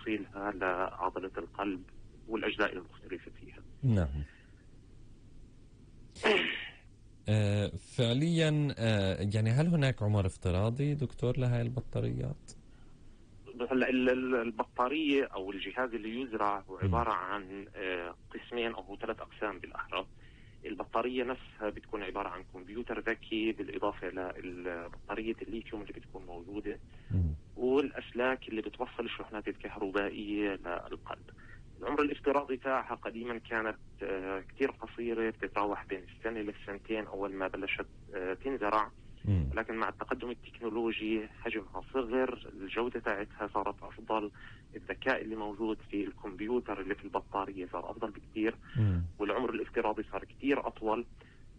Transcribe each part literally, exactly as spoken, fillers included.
توصيلها لعضلة القلب والأجزاء المختلفة فيها. نعم. آه فعليا آه يعني هل هناك عمر افتراضي دكتور لهذه البطاريات؟ هلا البطارية أو الجهاز اللي يزرع هو عبارة عن قسمين أو ثلاث أقسام بالأحرى. البطارية نفسها بتكون عبارة عن كمبيوتر ذكي بالإضافة لبطارية الليثيوم اللي بتكون موجودة والأسلاك اللي بتوصل الشحنات الكهربائية للقلب. العمر الافتراضي تاعها قديما كانت كتير قصيرة، بتتراوح بين السنة للسنتين أول ما بلشت تنزرع، لكن مع التقدم التكنولوجي حجمها صغر، الجودة تاعتها صارت أفضل، الذكاء اللي موجود في الكمبيوتر اللي في البطارية صار أفضل بكتير، والعمر الافتراضي صار كتير أطول.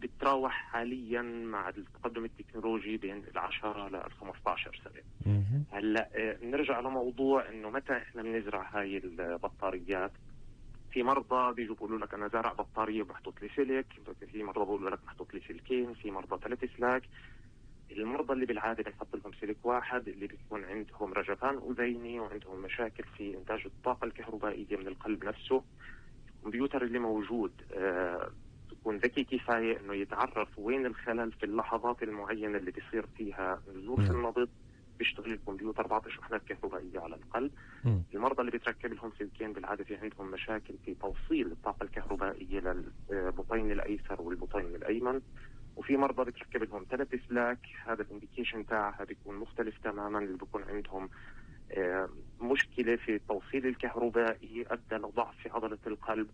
بتراوح حاليا مع التقدم التكنولوجي بين العشرة للخمسة عشر سنة. هلا نرجع لموضوع إنه متى إحنا بنزرع هاي البطاريات. في مرضى بيجوا بيقولوا لك أنا زارع بطارية وبحطط لي سلك، في مرضى بيقولوا لك محطوط لي سلكين، في مرضى ثلاث سلاك. المرضى اللي بالعادة بنحط لهم سلك واحد اللي بيكون عندهم رجفان أذيني وعندهم مشاكل في إنتاج الطاقة الكهربائية من القلب نفسه. الكمبيوتر اللي موجود آه تكون ذكي كفاية إنه يتعرف وين الخلل في اللحظات المعينة اللي بيصير فيها نزول في النبض، بيشتغل الكمبيوتر بعطي شحنات كهربائية على القلب. م. المرضى اللي بيتركب لهم سلكين بالعادة في عندهم مشاكل في توصيل الطاقة الكهربائية للبطين الأيسر والبطين الأيمن. وفي مرضى بتركب لهم ثلاث سلاك، هذا الانديكيشن تاعها بيكون مختلف تماما، اللي بيكون عندهم مشكلة في التوصيل الكهربائي أدى لضعف في عضلة القلب.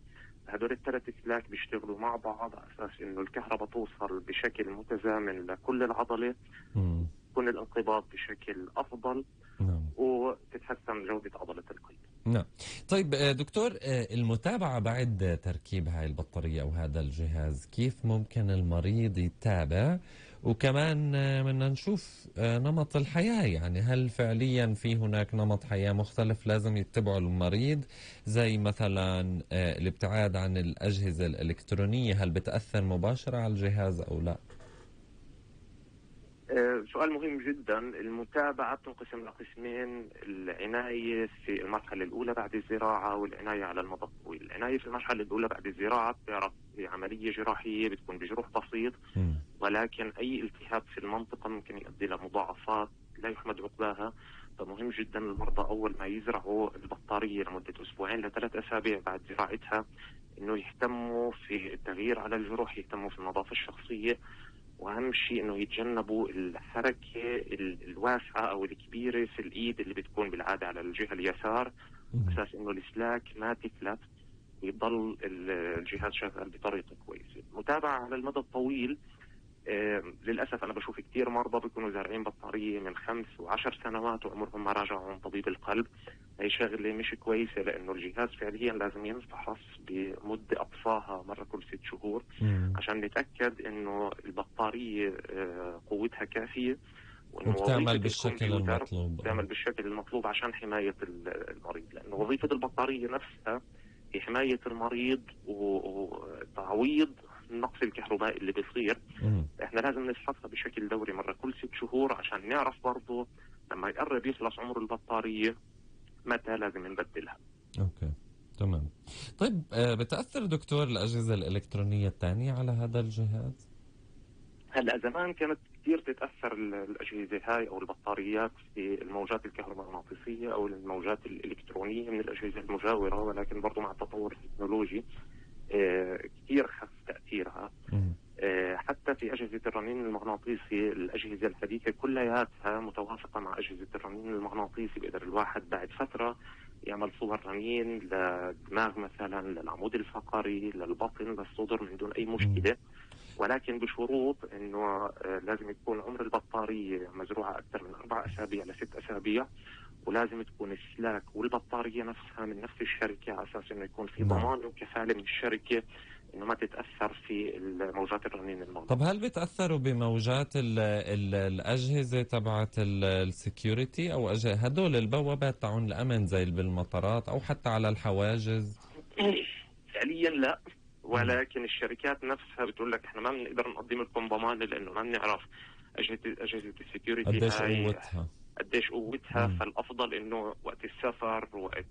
هدول الثلاث سلاك بيشتغلوا مع بعض على أساس إنه الكهرباء توصل بشكل متزامن لكل العضلة، يكون الانقباض بشكل أفضل م. وتتحسن جودة عضلة القلب. نعم. طيب دكتور، المتابعة بعد تركيب هاي البطارية أو هذا الجهاز، كيف ممكن المريض يتابع؟ وكمان بدنا نشوف نمط الحياة، يعني هل فعليا في هناك نمط حياة مختلف لازم يتبعه المريض، زي مثلا الابتعاد عن الأجهزة الإلكترونية، هل بتأثر مباشرة على الجهاز أو لا؟ أه سؤال مهم جدا. المتابعة تنقسم لقسمين: العناية في المرحلة الأولى بعد الزراعة والعناية على المدى الطويل. العناية في المرحلة الأولى بعد الزراعة بتعرف عملية جراحية بتكون بجروح بسيط، ولكن أي التهاب في المنطقة ممكن يؤدي لمضاعفات لا يحمد عقباها. فمهم جدا المرضى أول ما يزرعوا البطارية لمدة أسبوعين لثلاث أسابيع بعد زراعتها إنه يهتموا في التغيير على الجروح، يهتموا في النظافة الشخصية، واهم شيء انه يتجنبوا الحركه الواسعه او الكبيره في الايد اللي بتكون بالعاده على الجهه اليسار، اساس انه السلاك ما تفلت ويضل الجهاز شغال بطريقه كويسه. متابعه على المدى الطويل. آه للاسف انا بشوف كثير مرضى بيكونوا زارعين بطاريه من خمس وعشر سنوات وعمرهم ما راجعوا عن طبيب القلب. هي شغله مش كويسه، لانه الجهاز فعليا لازم ينفحص بمده اقصاها مره كل ست شهور مم. عشان نتاكد انه البطاريه آه قوتها كافيه وبتعمل بالشكل المطلوب بتعمل بالشكل المطلوب عشان حمايه المريض، لانه وظيفه البطاريه نفسها هي حمايه المريض وتعويض النقص الكهربائي اللي بيصير. مم. احنا لازم نفحصها بشكل دوري مرة كل ست شهور عشان نعرف برضه لما يقرب يخلص عمر البطارية متى لازم نبدلها. اوكي تمام. طيب بتأثر دكتور الأجهزة الإلكترونية الثانية على هذا الجهاز؟ هلا زمان كانت كثير تتأثر الأجهزة هاي أو البطاريات في الموجات الكهرومغناطيسية أو الموجات الإلكترونية من الأجهزة المجاورة، ولكن برضه مع التطور التكنولوجي آه كثير خف تأثيرها. آه حتى في أجهزة الرنين المغناطيسي الأجهزة الحديثة كلياتها متوافقة مع أجهزة الرنين المغناطيسي، بيقدر الواحد بعد فترة يعمل صور رنين للدماغ مثلا، للعمود الفقري، للبطن، للصدر من دون أي مشكلة، ولكن بشروط انه آه لازم يكون عمر البطارية مزروعة أكثر من أربع أسابيع لست أسابيع، ولازم تكون السلاك والبطارية نفسها من نفس الشركة على أساس إنه يكون في ضمان وكفالة من الشركة إنه ما تتأثر في موجات الرنين المغناطيسي. طب هل بتأثروا بموجات ال ال الأجهزة تبعت السكيورتي أو هدول البوابات تاعون الأمن زي بالمطارات أو حتى على الحواجز؟ فعليا لا، ولكن الشركات نفسها بتقول لك احنا ما بنقدر نقدم لكم ضمان لأنه ما بنعرف أجهزة أجهزة السكيورتي قديش قوتها قديش قوتها. فالأفضل إنه وقت السفر وقت